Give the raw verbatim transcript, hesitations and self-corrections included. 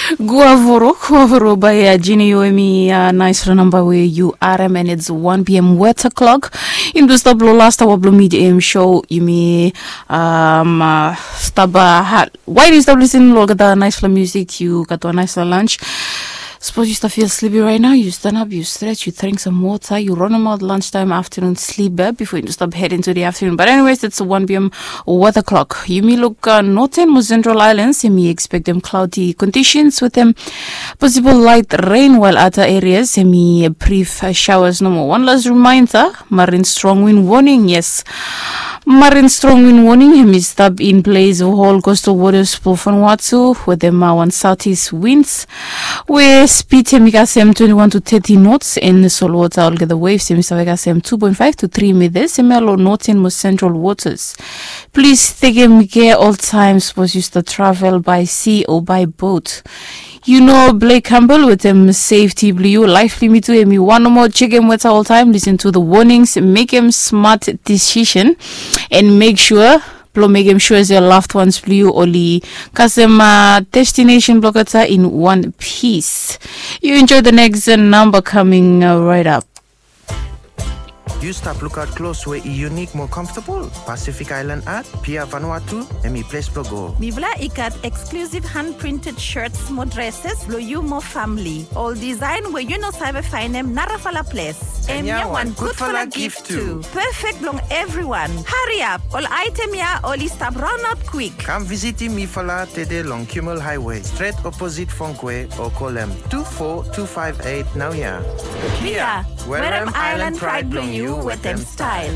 Guavoro, guavoro bae ya jini yu emi, naisfala namba we yu arem and it's one p m weta klok. Yumi tu stap long last aoa blong midiam show, yumi stap, wael yu stap lisin long olgeta naisfala musik, yu gat wan naisfala lunch. Sapos yu stap fil slipi raet nao, yu stanap, yu stret, yu dring sam wota, yu ronemaot lunch taem, aftanun slip bifo yu stap hed into the aftanun. But anyways, it's one p m weta klok. Yumi luk noten mo sentral aelans, yumi ekspektem klaodi kondisens wetem posibol laet ren, wael ada erias yumi brif shaoas nomo. Wan las rimaenda, marin strong win woning, yes. Marin strong win woning yumi stap in ples of hol kostal wotas blong Vanuatu wetem wan saotis wins we spid yumi kasem twenti wan tu teti nots, en solwota olgeta wevs yumi save kasem tu poen faef tu tri mitas yumi ya long noten mo sentral wotas. Plis tekem kea oltaem sapos yu stap travel bae si o bae bot. Yu no blei gambol wetem sefti blong yu, laef blong yumi tu, yumi wan nomo jekem weta oltaem, lisin tu the wonings, mekem smat disisen, en mek sua blong mekem sua se loved ones blong yu oli kasem destinesen blong olgeta in wan pis. Yu enjoe the next namba kaming raet ap. Yu stap lukaot klos we i yunik mo komfotabol? Pacific Island Art, Pia Vanuatu, hemi ples blong go. Mifala i gat eksklusif han printed shirts mo dreses blong yu mo famili. Ol disaen we yu no save faenem narafala ples. Hemia wan gudfala gif tu. Pefek blong evriwan. Hariap, ol aetem ya oli stap raonaot kwik. Kam visitim mifala tede long Kimmel Highway, stret oposit Fongkwe, o kolem tu fo tu faef eit naoia. Pia, werem aelan praed blong yu wetem stael.